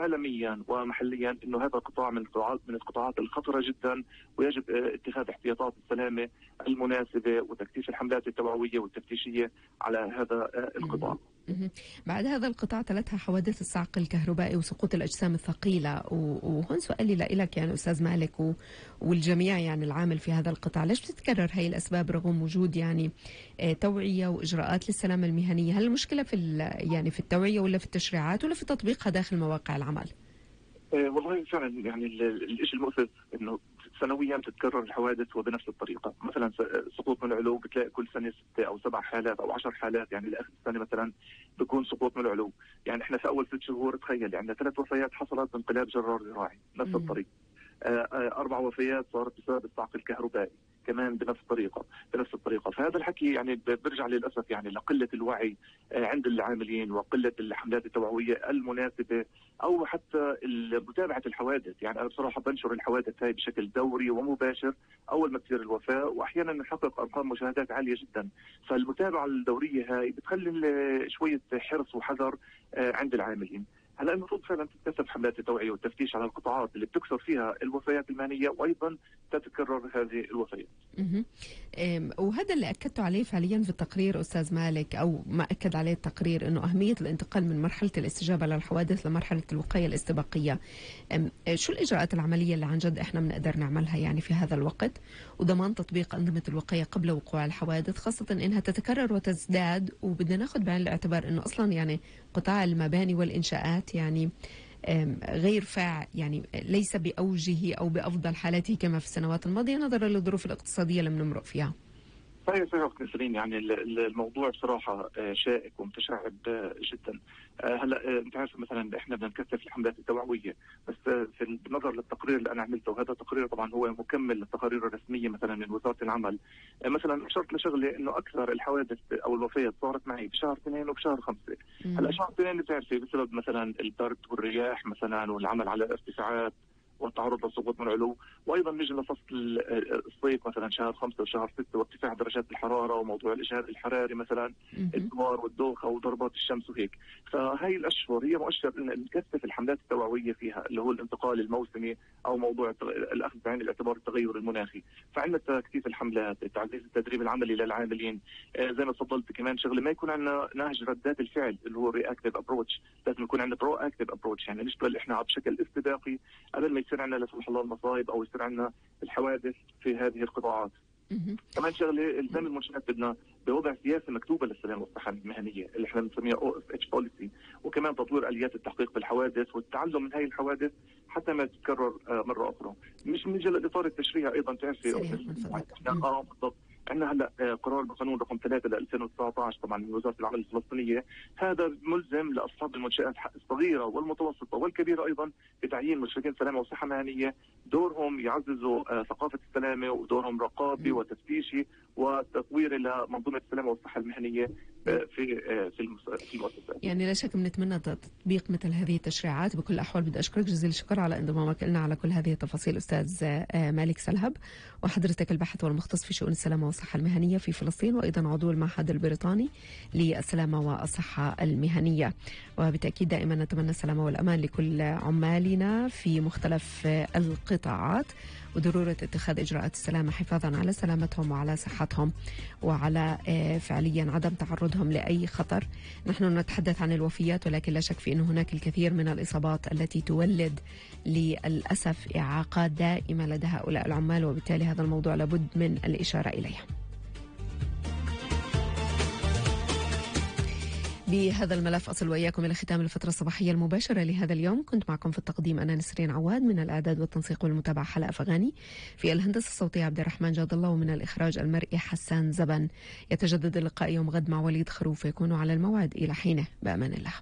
عالميا ومحليا انه هذا القطاع من القطاعات الخطره جدا، ويجب اتخاذ احتياطات السلامه المناسبه وتكثيف الحملات التوعويه والتفتيشيه على هذا القطاع. بعد هذا القطاع تلتها حوادث الصعق الكهربائي وسقوط الأجسام الثقيلة، وهون سؤالي لك يعني أستاذ مالك والجميع يعني العامل في هذا القطاع، ليش بتتكرر هاي الأسباب رغم وجود يعني توعية وإجراءات للسلامة المهنية؟ هل المشكلة في التوعية ولا في التشريعات ولا في تطبيقها داخل مواقع العمل؟ والله فعلا يعني الشيء المؤسف انه سنويا تتكرر الحوادث وبنفس الطريقه، مثلا سقوط من العلو بتلاقي كل سنه 6 أو 7 حالات أو 10 حالات، يعني لاخر السنه مثلا بيكون سقوط من العلو، يعني احنا في اول 6 شهور تخيل يعني 3 وفيات حصلت بانقلاب جرار زراعي نفس الطريقه، 4 وفيات صارت بسبب الصعق الكهربائي كمان بنفس الطريقه، فهذا الحكي يعني بيرجع للاسف يعني لقله الوعي عند العاملين وقله الحملات التوعويه المناسبه او حتى متابعه الحوادث. يعني انا بصراحه بنشر الحوادث هاي بشكل دوري ومباشر اول ما تصير الوفاه، واحيانا نحقق ارقام مشاهدات عاليه جدا، فالمتابعه الدوريه هاي بتخلي شويه حرص وحذر عند العاملين. هلا المفروض فعلا تتكثف حملات التوعيه والتفتيش على القطاعات اللي بتكثر فيها الوفيات المهنيه وايضا تتكرر هذه الوفيات. وهذا اللي اكدته عليه فعليا في التقرير استاذ مالك، او ما اكد عليه التقرير، انه اهميه الانتقال من مرحله الاستجابه للحوادث لمرحله الوقايه الاستباقيه. شو الاجراءات العمليه اللي عن جد احنا بنقدر نعملها يعني في هذا الوقت، وضمان تطبيق انظمه الوقايه قبل وقوع الحوادث، خاصه انها تتكرر وتزداد، وبدنا ناخذ بعين الاعتبار انه اصلا يعني قطاع المباني والانشاءات يعني غير يعني ليس بأوجه أو بأفضل حالاته كما في السنوات الماضية نظرا للظروف الاقتصادية اللي بنمرق فيها. صحيح نسرين، يعني الموضوع بصراحة شائك ومتشعب جدا. هلا انت عارف مثلا احنا بدنا نكثف الحملات التوعوية، بس بالنظر للتقرير اللي انا عملته، وهذا التقرير طبعا هو مكمل للتقارير الرسمية مثلا من وزارة العمل، مثلا اشرت لشغله انه اكثر الحوادث او الوفيات صارت معي بشهر 2 وبشهر 5. هلا شهر 2 بتعرفي بسبب مثلا البرد والرياح مثلا والعمل على ارتفاعات والتعرض لسقوط من العلو، وايضا نجي لفصل الصيف مثلا شهر 5 وشهر 6 وارتفاع درجات الحراره وموضوع الاجهاد الحراري مثلا الدوار والدوخه وضربات الشمس وهيك. فهي الاشهر هي مؤشر ان نكثف الحملات التوعويه فيها، اللي هو الانتقال الموسمي او موضوع الاخذ بعين الاعتبار التغير المناخي. فعندنا تكثيف الحملات، تعزيز التدريب العملي للعاملين، زي ما تفضلت كمان شغله ما يكون عندنا نهج ردات الفعل اللي هو رياكتيف ابروتش، لازم يكون عندنا برو اكتيف ابروتش، يعني نشتغل احنا بشكل استباقي قبل ما يصير عندنا لا سمح الله المصايب او يصير عندنا الحوادث في هذه القطاعات. كمان شغله الزام المنشآت بدنا بوضع سياسه مكتوبه للسلامه والصحه المهنيه اللي احنا بنسميها OSH بوليسي، وكمان تطوير اليات التحقيق بالحوادث والتعلم من هذه الحوادث حتى ما تتكرر مره اخرى. مش من جل الاطار التشريعي ايضا تعرفي بالضبط. عندنا هلا قرار بقانون رقم 3 ل 2019 طبعا من وزاره العمل الفلسطينيه، هذا ملزم لاصحاب المنشآت الصغيره والمتوسطه والكبيره ايضا بتعيين مشرفين سلامه وصحه مهنيه، دورهم يعززوا ثقافه السلامه ودورهم رقابي وتفتيشي وتطوير لمنظومه السلامه والصحه المهنيه في المؤسسات. يعني لا شك بنتمنى تطبيق مثل هذه التشريعات. بكل الاحوال بدي اشكرك جزيل الشكر على انضمامك لنا على كل هذه التفاصيل استاذ مالك سلهب، وحضرتك الباحث والمختص في شؤون السلامه والصحه المهنيه في فلسطين، وايضا عضو المعهد البريطاني للسلامه والصحه المهنيه. وبالتاكيد دائما نتمنى السلامه والامان لكل عمالنا في مختلف القطاعات، وضروره اتخاذ اجراءات السلامه حفاظا على سلامتهم وعلى صحتهم وعلى فعليا عدم تعرضهم لاي خطر. نحن نتحدث عن الوفيات، ولكن لا شك في انه هناك الكثير من الاصابات التي تولد للاسف اعاقات دائمه لدى هؤلاء العمال، وبالتالي هذا الموضوع لابد من الاشاره اليه. بهذا الملف أصل وإياكم إلى ختام الفترة الصباحية المباشرة لهذا اليوم. كنت معكم في التقديم أنا نسرين عواد، من الإعداد والتنسيق والمتابعة حلا أفغاني، في الهندسة الصوتية عبد الرحمن جاد الله، ومن الإخراج المرئي حسان زبن. يتجدد اللقاء يوم غد مع وليد خروف، يكون على الموعد إلى حينه بأمان الله.